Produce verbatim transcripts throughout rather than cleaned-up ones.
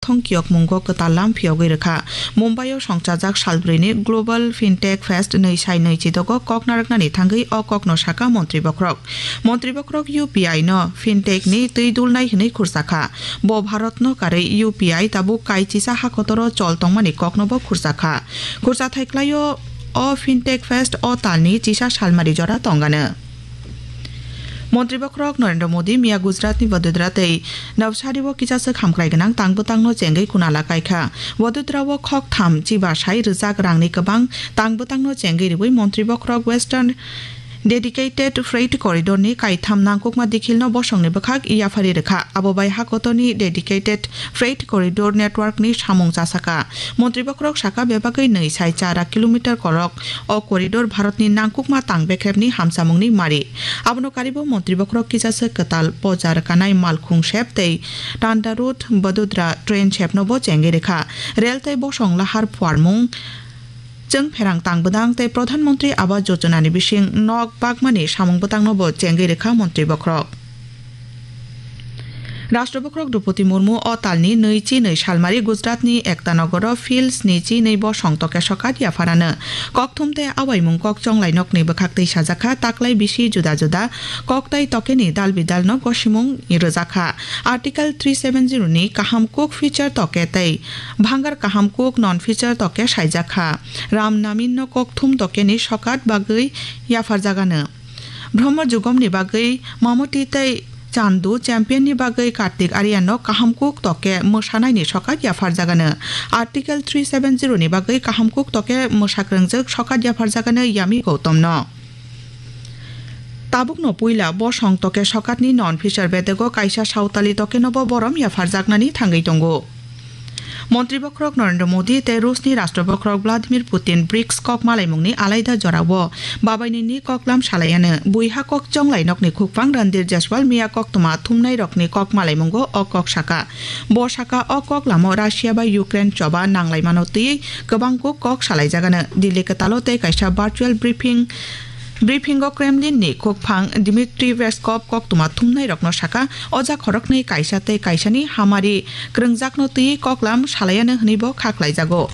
thong kiyokmungo kwtal lam phiyogwi rwkha. Mumbai-o songchajak salbrwini Global Fintech Fest nwi sai nwi chidogo kok narwknani thangwi o kokno sakha Montri Bokhorok. Montri Bokhorok U P I no Fintech ni twi dulnai hwnwi khursa kha. Bo Bharat no karwi U P I tabuk kaichisa hakotoro chol tongmani kokno bo khursa kha. Khursa thai klaio o Fintech Fest o talni chisa salmari jora tongano. Montri Bokhorok Narendra Modi miya Gujaratni Vadodara tei Navsari-o kisa swk hamkrai gwnang tang bwtangno chengwi kunala kaikha. Vadodara-o khoktham chiba sai rwjak rangni kwbang tang bwtangno chengwi rwui Montri Bokhorok Western Dedicated Freight Corridor-ni kaitham nangkukma dikhilno bosongni bwkhak yaphari rwkha. Abo bai hakotorni Dedicated Freight Corridor Network-ni samung chasakha. Montri Bokhorok sakha bebagwi nwi sai chara kilometer korok o corridor Bharatni nangkukma tang bekrepni hamsamungni mari. Abono karibo Montri Bokhorok kisa swk kwtal pojar kanai Malkhung sep tei Tanda Road Vadodara train sepno bo chengwi rwkha. Rel tei bosong lahar phuarmung, chwng pherang tang bwdang tei Pradhan Mantri Awas Yojana ni bising nok bakmani samung bwtangno bo chengwi rwkha Montri Bokhorok. Rashtra Bokhorok Droupadi Murmu o talni nwi chi nwi salmari Gujaratni Ekta Nogoro Phil sni chi nwi bosong toke sokat yapharano. Kokthum tei awaimung kok chonglai nokni bwkhak twi sajakha, taklai bisi juda juda kok tai tokeni dal bidalno gosimung rwjakha. Article three seven zero ni kaham kuk feature toke tei bhangar kaham kuk non feature toke saijakha. Ram Namin no kokthum tokeni sokat bagwi yapharjagano. Brahma Jugomni bagwi Mamoti tei Chandu, Champion ni bagwi Kartik Aryan no kaham kuk toke mwsanaini sokat yapharjagano. Article three seven zero ni bagwi kaham kuk toke mwsakrwngjwk sokat yapharjagano Yami Gautam no. Tabukno puila bosong toke sokatni non feature bedego kaisa sautali tokeno bo borom yapharjaknani thangwi tongo. Montri Bokhorok Narendra Modi tei Rusni Rashtra Bokhorok Vladimir Putin brics kok malaimungni alaida jorao babainini koklam salaiano. Buiha kok chonglai nokni khukphang Randir Jaiswal miya koktwma thumnai rokni kok malaimungo o kok saka. Bo saka o kok lamo Russia bai Ukraine choba nanglaimano twiwi kwbangkuk kok salaijagano. Delhi kwtalo tei kaisa virtual briefing Briefingo Kremlinni khukphang Dmitry Peskov koktwma thumnairokno saka, o ja khoroknwi kaisa tei kaisani hamari kwrwngjakno twiwi koklam salaiano hwnwibo kha khlaijago.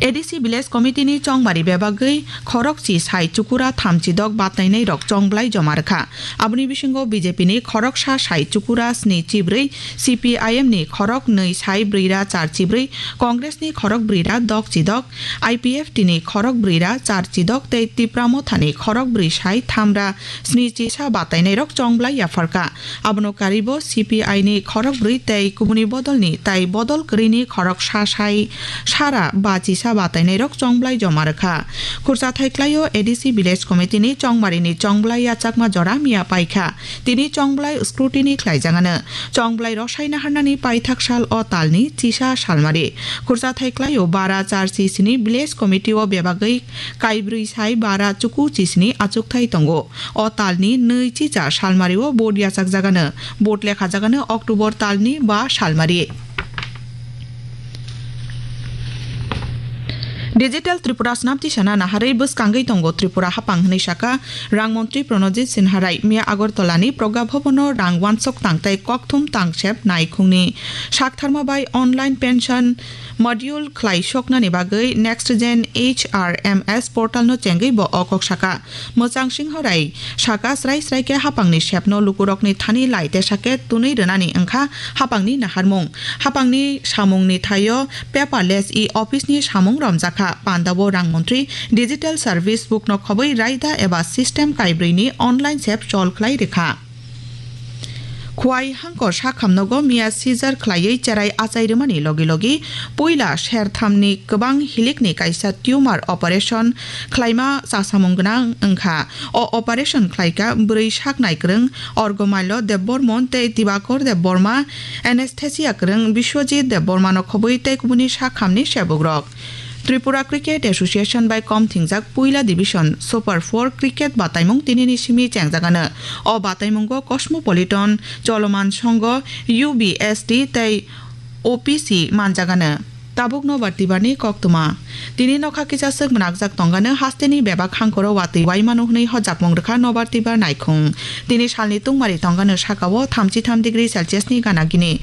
A D C Village Committee-ni chongmari bebagwi khorokchi sai chukura thamchi dok batnainairok chongblai joma rwkha. Aboni bisingo B J P-ni khoroksa sai chukura sni chibrwi, C P I M-ni khorok nwi sai brwi ra char chibrwi, Congress-ni khorok brwi ra dok chidok, I P F T ni khorok brwi ra char chidok tei Tipra Motha ni khorok brwi sai tham ra sni chisa batainairok chongblai yapharkha. Abono karibo C P I ni khorok brwi tei kubuni bodolni tai bodol kwrwini khorok sa sai sara ba chisa batainairok chongblai joma rwkha. Khurcha thai klaio A D C Village Committee ni chongmari ni chongblai yachakma jora miya paikha. Tini chongblai scrutiny khlaijagano. Chongblai rosai naharnani paithak sal o talni chisa salmari. Khurcha thai klaio bara char chi sini Village Committee o bebagwi kaibrwi sai bara chuku chi sini achukthai tongo. O talni nwi chicha salmari o vote yachakjagano. Vote lekhajagano October talni ba salmari. Digital Tripura swnam tisana naharwi bwskangwi tongo Tripura haphang hwnwi saka Rang Montri Pranojit Sinha Rai. Miya Agartala ni Pragya Bhavan o rang wansok tang tei kokthum tang sep naikhungni saktharma bai online pension module khlai soknani bagwi Next Gen H R M S portal no chengwi bo o kok saka. Mwchang Singho Rai saka, srai srai khe haphangni sepno lukurokni thani lai tesa khe tunwi rwnani wngkha haphangni naharmung. Haphangni samungni thaio paperless e-office ni samung romjakha. Pandao Rang Montri Digital Service Book no khobwi raida eba system kaibrwi ni online sep chol khlai rwkha. Khwai hangkor sakhamnogo miya seizure khlaiwi cherai achai rwmani logi logi puila serthamni kwbang hilikni kaisa tumor operation khlaima chasamung gwnang wngkha. O operation khlaika bwrwi sak naikwrwng Orgomailo Debbarmon tei Dibakor Debbarma, anesthesia kwrwng Biswajit Debbarmano khobwi tei kubuni sakhamni sebukrok. Tripura Cricket Association bai kom thingjak puila division Super four cricket bataimung tinini simi chengjagano. O bataimungo Cosmopolitan, Choloman Songho, U B S T tei O P C manjagano. Tabuk nobar tibarni koktwma. Tini nokha kisa swk mwnakjak tongano hasteni bebak hangkoro watwi waimano hwnwi hojakmung rwkha nobar tibar naikhung. Tini salni tungmari tongano sakao thamchi tham degree Celsius ni gana gini.